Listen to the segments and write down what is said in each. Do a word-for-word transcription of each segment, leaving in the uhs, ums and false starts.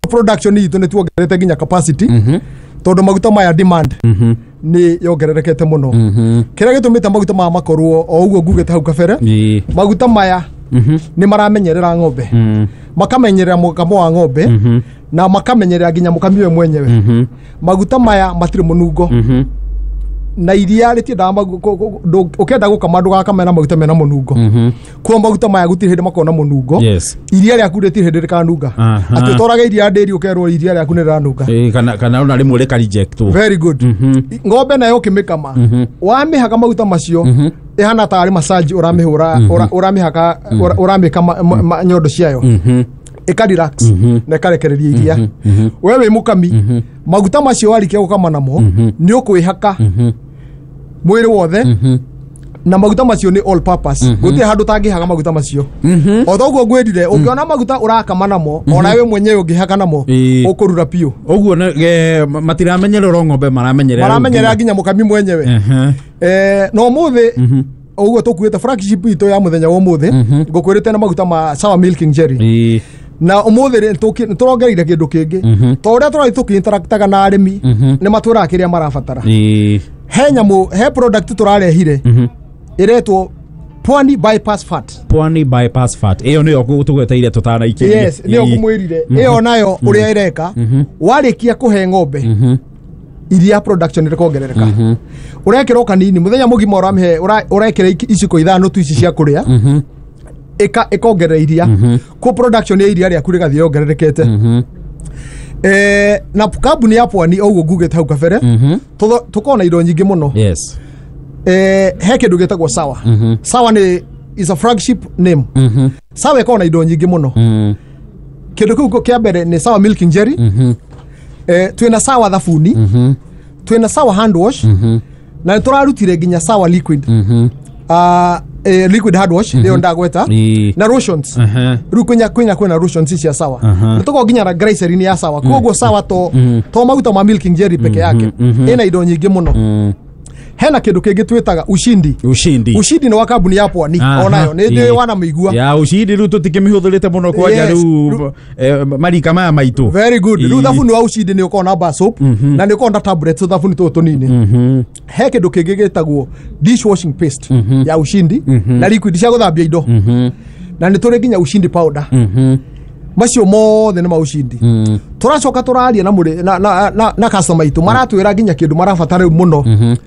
Production itũ nĩ tuongerete nginya capacity tondũ maguta maya demand nĩ yongererekete mũno. Kĩrĩa gĩtũmĩte maguta maya makorwo o ũguo ngugĩte hau kabere, Ĩĩ. maguta maya nĩ maramenyerera ng'ombe, makamenyerera mũkamo wa ng'ombe na makamenyerera nginya mũkami we mwenyewe. Maguta maya matirĩ mũnungo na iria rĩtiendaga magu- kũ- kũ- ndũ- ũkĩenda gũkama ndũgakame na maguta mena mũnungo. Kuo maguta maya gũtirĩ hĩndĩ makorwo na mũnungo. Yes. Iria rĩaku rĩtirĩ hĩndĩ rĩkanunga. Aha. Atĩ ũtwaraga iria ndĩri ũkerwo iria rĩaku nĩ rĩranunga. Ĩĩ, kana kana ona rĩmwe rĩka reject. Very good. Ng'ombe nayo ũkĩmĩkama wamĩhaka maguta macio ĩhana tarĩ massage ũramĩhũra, ũra- ũramĩhaka, ũra- ũramĩka ma- ma- ma- nyondo ciayo ĩka relax na ĩkarekereria iria. We wĩ mũkami, maguta macio warĩkia gũkama namo nĩ ũkwĩhaka mwĩrĩ wothe na maguta macio nĩ all purpose. Gũtirĩ handũ ũtangĩhaka maguta macio. O toguo ngwĩrire, ũngĩona maguta ũrakama namo, ona we mwenyewe ũngĩhaka namo, Ĩĩ. ũkũrura biũ. Ũguo nĩ- eh, matiramenyerera o ng'ombe, maramenyerera Maramenyerera nginya mũkami mwenyewe. Ehe. Eh, na ũmũthĩ ũguo tũkuĩte flagship itũ ya mũthenya wa ũmũthĩ, ngũkwĩrĩte na maguta ma Sawa Milking Jelly. Ĩĩ. Na ũmũthĩ rĩ, tũki- nĩtũrongereire kĩndũ kĩngĩ to ũrĩa tũrathiĩ tũkĩ-interactaga na arĩmi nĩ matwĩraga kĩrĩa marabatara. Ĩĩ. He nyamũ, he product tũrarehire ĩretwo Pwani Bypass Fat. Pwani Bypass Fat, ĩyo nĩyo tũgweteire tũtanaikĩrie. Yes, nĩyo ngũmwĩrire. Ĩyo nayo ũrĩa ĩreka, warĩkia kũhe ng'ombe iria, production ĩkongerereka. Ũrekĩra o kanini mũthenya mũgima, ũramĩhe, ũra- ũrekĩra iki- iciko ithano tu ici cia kũrĩa, ĩka ĩkongerera iria ko production ya iria rĩaku rĩgathiĩ yongererekete. Eh, na kambuni ya Pwani, o ũguo ngugĩte hau kabere, tũtho- tũkoragwo na indo nyingĩ mũno. Yes eh, he kĩndũ gĩtagwo Sawa. Sawa nĩ is a flagship name. Sawa ĩkoragwo na indo nyingĩ mũno. Kĩndũ kĩu kĩa mbere nĩ Sawa Milking Jelly. eh, twĩna Sawa thabuni, twĩna Sawa hand wash, na nĩ tũrarutire nginya Sawa liquid, uh, eh, liquid hand wash nĩyo ndagweta, Ĩĩ. na lotions. Aha. Rĩu kwĩna kwĩna kwĩna lotions cia Sawa. Aha. Nĩ tũkoragwo nginya na glycerin ya Sawa. Koguo Sawa to to maguta ma milking jelly peke yake, ĩna indo nyingĩ mũno. Hena kĩndũ kĩngĩ twĩtaga Ushindi. Ushindi. Ushindi nĩ wa kambuni ya Pwani. Aha. Onayo nĩ ndĩ Ĩĩ. wanamĩigua. Ya Ushindi rĩu tũtikĩmĩhũthĩrĩte mũno kwanja. Yes. Rĩu eh, marika maya maitũ. Very good. Rĩu Ĩĩ. thabuni wa Ushindi nĩ ũkoragwo na bar soap na nĩ ũkoragwo na tablets, thabuni tũtũ tũnini. He kĩndũ kĩngĩ gĩtagwo dishwashing paste ya Ushindi na liquid cia gũthambia indo, na nĩ tũrĩ nginya Ushindi powder. Macio mothe nĩ ma Ushindi. Tũracoka tũraria na mũrĩ na, na, na, na customer itũ, maratwĩra nginya kĩndũ marabatara rĩu mũno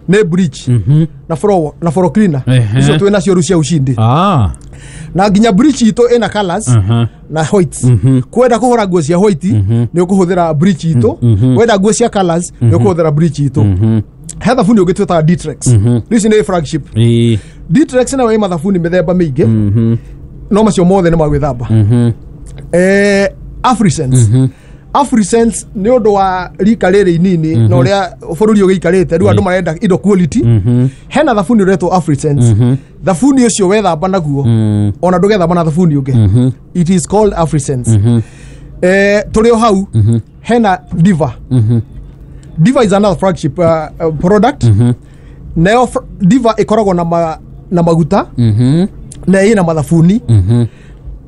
nĩ bleach na floor na floor cleaner. Ehe. Icio twĩ nacio rĩu cia Ushindi. Ah. Na nginya bleach itũ ĩna colors Aha. na white. Kwenda kũhũra nguo cia white nĩ ũkũhũthĩra bleach itũ, wenda nguo cia colors nĩ ũkũhũthĩra bleach itũ. He thabuni ũngĩ twĩtaga Ditrex. Rĩu ici nĩ flagship. Ĩĩ. Ditrex nayo ĩ mathabuni mĩthemba mĩingĩ, no macio mothe nĩ ma gwĩthamba. eh, Afrisense Afrisense nĩ ũndũ wa rika rĩrĩ inini na ũrĩa bũrũri ũgĩikarĩte rĩu, andũ marenda indo quality. Hena thabuni ũretwo Afrisense. Thabuni ũcio wethamba naguo, ona ndũgethamba na thabuni ũngĩ. It is called Afrisense. eh, tũrĩ o hau, hena Diva. Diva is another flagship uh, uh, product. Nayo fr- Diva ĩkoragwo na, ma, na maguta na ĩna mathabuni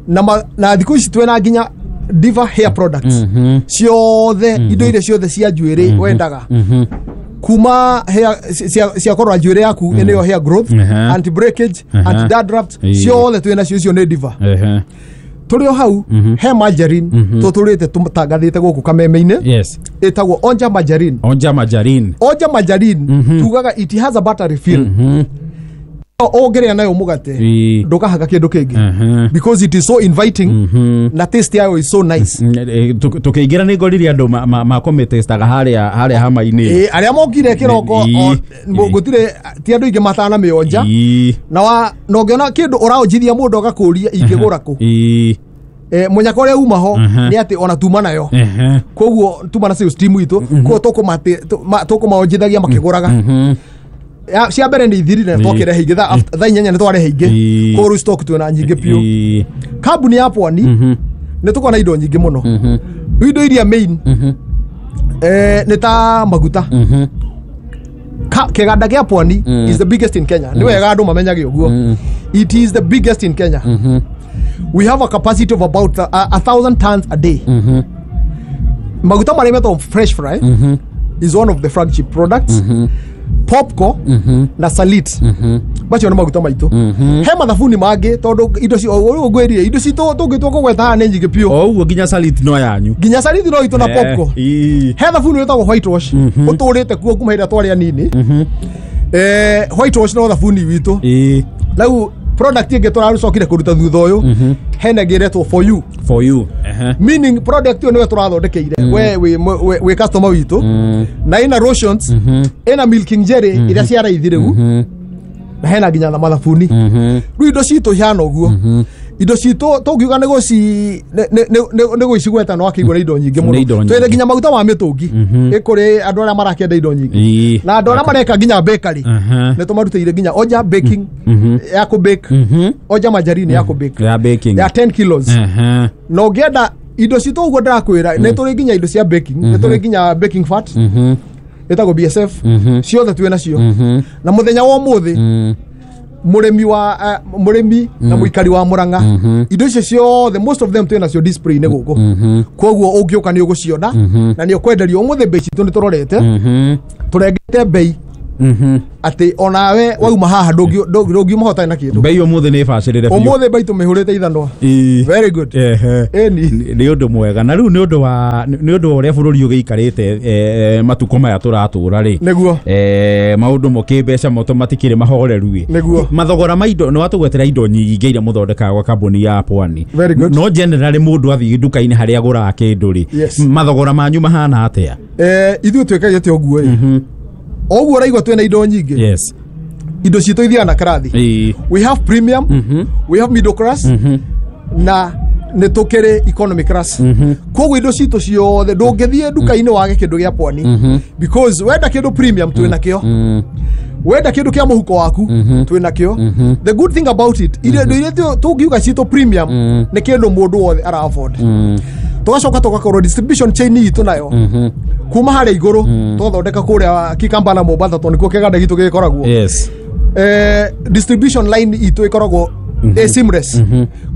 na, ma, na thikũ ici twĩna nginya Diva hair products ciothe, indo iria ciothe cia njuĩrĩ wendaga kuma hair cia, cia kũrora njuĩrĩ yaku, ĩnĩyo hair growth, Mhm. anti breakage, Mhm. anti dandruff, Ĩĩ. ciothe twĩna cio. Icio nĩ Diva. Ehe. Tũrĩ o hau, he margarine tũtũrĩte tũtangathĩte gũkũ kameme-inĩ, Yes. ĩtagwo Onja Margarine. Onja Margarine. Onja Margarine tugaga it has a buttery feel. Ũngĩrĩa nayo mũgate, Ĩĩ. ndũkahaga kĩndũ kĩngĩ Mhm. because it is so inviting na taste yayo is so nice. Mm, eh, tũ- tũkĩingĩra nĩ ngorire andũ makomĩtestaga harĩa harĩa hama-inĩ. Ĩĩ, arĩa mokire kĩroko Ĩĩ. o- Ĩĩ. gũtirĩ ti andũ aingĩ matanamĩonja. Ĩĩ. Na wa na ũngĩona kĩndũ ũraonjithia mũndũ agakũria ingĩgũra kũ, Ĩĩ. eh, mũnyaka ũrĩa uma ho Mhm. nĩ atĩ ona tuma nayo. Ehe. Koguo tuma na sales team itũ, koguo tũkũmate- tũ- ma- tũkũmaonjithagia makĩgũraga. Ya- cia mbere nĩ ithirire, Ĩĩ. twakĩrehe ingĩ thaa after- thaa inyanya nĩ twarehe ingĩ. Ĩĩ. Koguo rĩu stock twĩna nyingĩ biũ. Ĩĩ. Kambuni ya Pwani nĩ tũkoragwo na indo nyingĩ mũno. Rĩu indo iria main eh, nĩ ta maguta. Ka- kĩganda gĩa Pwani is the biggest in Kenya. Nĩ wega andũ mamenyage ũguo, it is the biggest in Kenya. We have a capacity of about a, a thousand tons a day. Maguta marĩa metagwo Fresh Fry is one of the flagship products. Popco na Salit, macio nĩ maguta maitũ. He mathabuni mangĩ, tondũ indo ci ũguo ngwĩrire, indo citũ tũngĩtua kũgweta haha nĩ nyingĩ biũ. O ũguo nginya Salit no yanyu? Nginya Salit no itũ na Eh, Popco. ii. He thabuni wĩtagwo White Wash, ũtũrĩte kuo kuma hĩndĩ ĩrĩa twarĩ anini. eh white Wash no thabuni witũ. Ii. Rĩu product ĩngĩ tũracokire kũruta thutha ũyũ, hena ĩngĩ ĩretwo For You. For You. Ehe. Meaning product ĩyo nĩwe tũrathondekeire we wĩ wĩ- wĩ customer witũ, na ĩna lotions, ĩna milking jelly iria cia raithi rĩu, na hena nginya na mathabuni. Rĩu indo citũ ihana ũguo. Indo citũ tũngiuga nĩ gũci nĩ- nĩ- nĩ- nĩ gũcigweta no akĩigua nĩ indo nyingĩ Nĩ indo mũno. nyingĩ. Twĩna nginya maguta ma mĩtũngi ĩ kũrĩ andũ arĩa marakĩenda indo nyingĩ Ii. na andũ arĩa mareka nginya bakery. Aha. Nĩ tũmarutĩire nginya Oja baking ya kũ bake, Oja margarine ya kũ bake, ya baking, ya ten kilos. Ehe. Na ũngĩenda indo citũ ũguo ndĩrakwĩra, nĩ tũrĩ nginya indo cia baking, nĩ tũrĩ nginya baking fat ĩtagwo B S F, ciothe twĩ nacio. Na mũthenya wa ũmũthĩ, mũrĩmi wa uh, mũrĩmi na mũikari wa Mũrang'a, indo icio ciothe, most of them, twĩ nacio display-inĩ gũkũ. Koguo ũngĩũka nĩ ũgũciona na nĩ ũkwenderio ũmũthĩ. Mbei citũ nĩ tũrorete, tũrengete mbei atĩ onawe wauma haha ndũngi- ndũngi- ndũngiuma hotarĩ na kĩndũ. Mbei ũmũthĩ nĩ bacĩrĩre biũ. Ũmũthĩ mbei tũmĩhũrĩte ithanwa. Ii. Very good. Ehe. Ĩni. Nĩ ũndũ mwega. Na rĩu nĩ ũndũ wa nĩ ũndũ wa ũrĩa bũrũri ũgĩikarĩte, eh, matukũ maya tũratũra rĩ, Nĩguo. eh, maũndũ mo kĩmbeca moto matikĩrĩ mahoreru ĩ. Nĩguo. Mathogora ma indo, nĩ watũgwetera indo nyingĩ iria mũthondekaga gwa kambuni ya Pwani. Very good. No generally mũndũ athiĩ nduka-inĩ harĩa agũraga kĩndũ rĩ, Yes. mathogora manyu mahana atĩa? Eh, ithuĩ twĩkagia ũguo ĩ, o ũguo ũraigua twĩna indo nyingĩ, yes indo citũ ithiaga na karathi. Ĩĩ. We have premium, we have middle class, na nĩ tũkĩrĩ economy class. Koguo indo citũ ciothe ndũngĩthiĩ nduka-inĩ wage kĩndũ gĩa Pwani, because wenda kĩndũ premium twĩ nakĩo, wenda kĩndũ kĩa mũhuko waku twĩ nakĩo. The good thing about it, indo iria tũ- tũngiuga citũ premium nĩ kĩndũ mũndũ wothe ara afford. Tũgacoka tũgakorwo distribution chain itũ nayo kuma harĩa igũrũ tũgathondeka kũrĩa Kikamba na Mombatha, tondũ nĩkuo kĩganda gitũ gĩkoragwo. yes eh, distribution line itũ ĩkoragwo mm seamless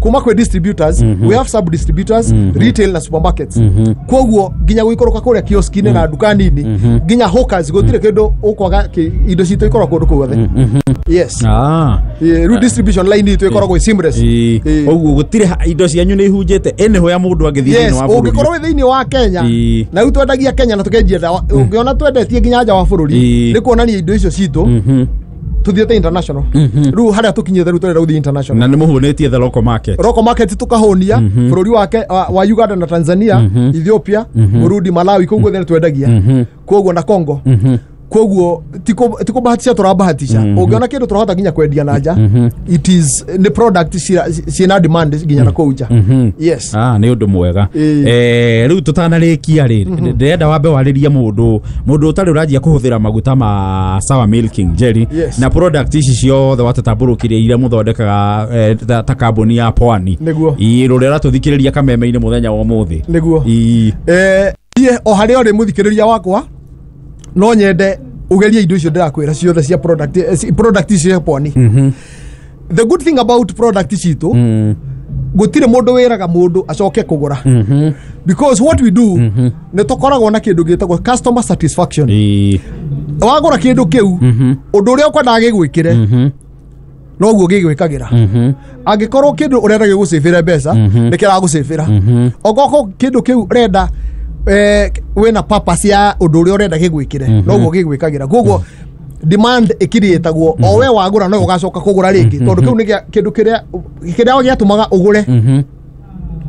kuma kwĩ distributors. We have sub distributors, retail na supermarkets. Koguo nginya gũikũrũka kũrĩa kioski-inĩ na nduka nini, nginya hawkers, gũtirĩ kĩndũ ũkwaga. kĩ- indo citũ ikoragwo kũndũ guothe, yes. Ah. Eh, rĩu distribution line itũ ĩkoragwo ĩ seamless. Ĩĩ. Ĩĩ. Ũguo gũtirĩ ha- indo cianyu nĩ ihunjĩte anywhere mũndũ angĩthiĩ Yes. thĩinĩ wa bũrũri. Ũngĩkorwo wĩ thĩinĩ wa Kenya, Ĩĩ. na rĩu twendagia Kenya na tũkenjia ndawa, ũngĩona twendetie nginya nja wa bũrũri, Ĩĩ. nĩ kuonania indo icio citũ tuthiĩte international. Rĩu harĩa tũkinyĩte rĩu tũrenda gũthiĩ international. Na nĩ mũhũnĩtie the local market. Local market tukahũnia bũrũri wake wa, wa Uganda na Tanzania, Ethiopia, Burundi, Malawi, kũu guothe nĩ twendagia, koguo na Congo. Koguo tikũbahatisha, tũrabahatisha ũngĩona kĩndũ tũrahota nginya kwendia na nja, it is nĩ product cira- ciĩna demand nginya na kũu nja, yes. Ah, nĩ ũndũ mwega. Ĩĩ. Eh, rĩu tũtanarĩkia rĩ, ndĩrenda wambe warĩrie mũndũ mũndũ ũtarĩ ũranjia kũhũthĩra maguta ma Sawa Milking Jelly Yes. na product ici ciothe watatambũrũkirie iria mũthondekaga, eh, ta, ta kambuni ya Pwani. Nĩguo. Ĩĩ, rũrĩa ũratũthikĩrĩria kameme-inĩ mũthenya wa ũmũthĩ. Nĩguo. Ĩĩ. Eh, niĩ o harĩa ũrĩ mũthikĩrĩria wakwa, no nyende ũgerie indo icio ndĩrakwĩra ciothe cia product, eh, ci- product icio cia Pwani. The good thing about product citũ, gũtirĩ mũndũ wĩraga mũndũ acoke kũgũra, because what we do, nĩ tũkoragwo na kĩndũ gĩtagwo customer satisfaction. Ĩĩ. Wagũra kĩndũ kĩu, ũndũ ũrĩa ũkwendaga gĩgwĩkĩre noguo gĩgwĩkagĩra. Angĩkorwo kĩndũ ũrenda gĩgũcĩbĩre mbeca, nĩ kĩragũcĩbĩra. Ongorwo kĩndũ kĩu ũrenda, eh, wĩna purpose ya ũndũ ũrĩa ũrenda gĩgwĩkĩre, noguo gĩgwĩkagĩra. Koguo demand ĩkiriĩtagwo o we wagũra no ũgacoka kũgũra rĩngĩ, tondũ kĩu nĩ gĩa- kĩndũ kĩrĩa kĩrĩa gĩatũmaga ũgũre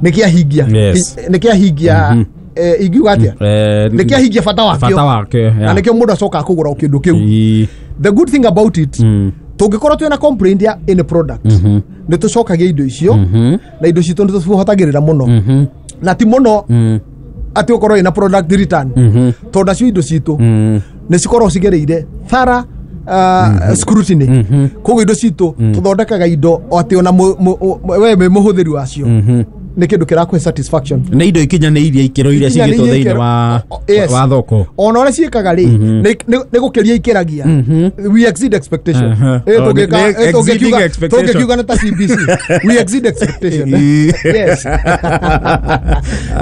nĩ kĩahingia. Yes. Nĩ kĩahingia, eh, ingiuga atĩa, Eh, nĩ kĩahingia bata wakĩo. Bata wakĩo. Na yeah. nĩkĩo mũndũ acokaga kũgũra o kĩndũ kĩu. Ĩĩ. The good thing about it, tũngĩkorwo twĩna complaint ya any product, nĩ tũcokagia indo icio, na indo citũ nĩ tũcihotagĩrĩra mũno, na ti mũno atĩ ũkorwo ĩna product return, tondũ nacio indo citũ nĩ cikoragwo cigereire thara uh, scrutiny. Koguo indo citũ tũthondekaga indo o atĩ ona mu- mu- we wĩ mũhũthĩri wacio Nĩ kĩndũ kĩrakũhe satisfaction. Nä indo ikinyanä ikĩro iria cigĩtwo Ikinyanĩirie thĩinĩ ikĩro. wa O- yes. wa thoko. Ona ũrĩa ciĩkaga rĩ, nĩ- nĩ nĩ gũkĩria ikĩragia. We exceed expectation. Mhm. Eh, Oh, tũngĩka- nĩ- eh, tũngĩkiuga- exceeding expectation. Tũngĩkiuga nĩ ta C B C, we exceed expectation. Yes.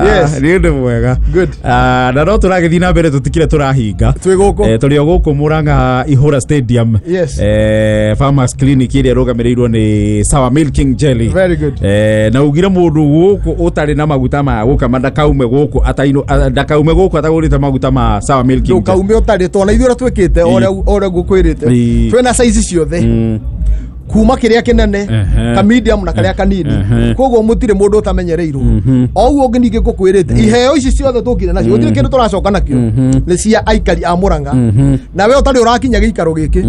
Yes. Nä å ndå mwega. Good. Ah, na no tå ragä thiä na mbere, tå tikire tå rahinga. Twĩ gũkũ. Eh, tũrĩ o gũkũ Murang'a Ihũra Stadium. Yes. Eh, Farmers Clinic ĩrĩa ĩrũgamĩrĩirwo nĩ Sawa Milking Jelly. Very good. Eh, na ugire mũndũ gũkũ ũtarĩ na maguta ma gũkama ndakaume gũkũ ataino a- ndakaume gũkũ atagũrĩte maguta ma Sawa Milking Jelly. Ndũkaume ũtarĩ, tondũ ithuĩ ũrĩa twĩkĩte, o ũrĩa o ũrĩa ngũkwĩrĩte, Ĩ. twĩna size ciothe, Mm. kuma kĩrĩa kĩnene, Ehe. ka medium na karĩa kanini. Ehe. Koguo mũtirĩ mũndũ ũtamenyereirwo. O ũguo ũngĩ ningĩ ngũkwĩrĩte, iheo ici ciothe tũkire nacio, gũtirĩ kĩndũ tũracoka nakĩo, nĩ cia aikari a Mũrang'a. Na we ũtarĩ ũrakinya gĩikaro gĩkĩ,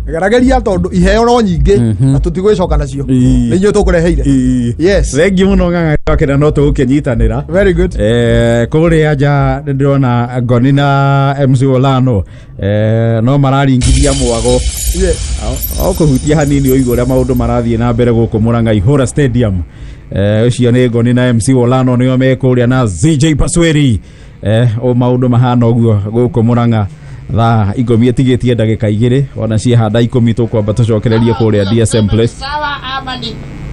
gerageria, tondũ iheo no nyingĩ na tũtigwĩcoka nacio. Ĩ. Nĩ inyuĩ tũkũreheire. Ĩ. Yes. Thengiũ mũno ng'ang'a wakena no tũgũkĩnyitanĩra. Very good. Eh, kũrĩa nja nĩ ndĩrona Ngoni na M C Olano, eh, no mararingithia mwago. Yes. O kũhutia hanini ũigua ũrĩa maũndũ marathiĩ na mbere gũkũ Murang'a Ihũra Stadium. Eh, ũcio nĩ Ngoni na M C Olano nĩo me kũrĩa na Z J Pasweri. Eh, o maũndũ mahana ũguo gũkũ Murang'a thaa ikũmi ĩtigĩtie ndagĩka igĩrĩ, ona ciahanda ikũmi tũkwamba tũcokererie kũrĩa D S M Place. Sawa ama ni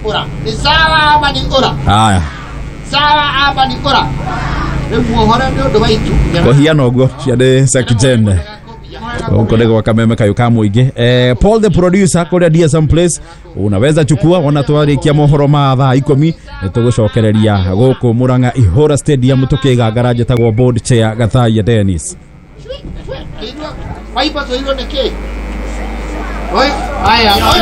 ura? Ni sawa ama ni ura? Haya. Sawa ama ni ura? Rĩu muohore nĩ ũndũ wa itu. Kũhiana ũguo ciarĩ Sekjen gũkũ nĩ gwa kameme kayũ ka mũingĩ. eh, Paul the producer kũrĩa D S M Place, unaweza chukua ona twarĩkia mohoro ma thaa ikũmi, nĩ tũgũcokereria gũkũ Murang'a Ihũra Stadium tũkĩgangara. Njĩtagwo board chair Gathaia Dennis. Waiba tũirwo nĩ kĩ? Oi, aya.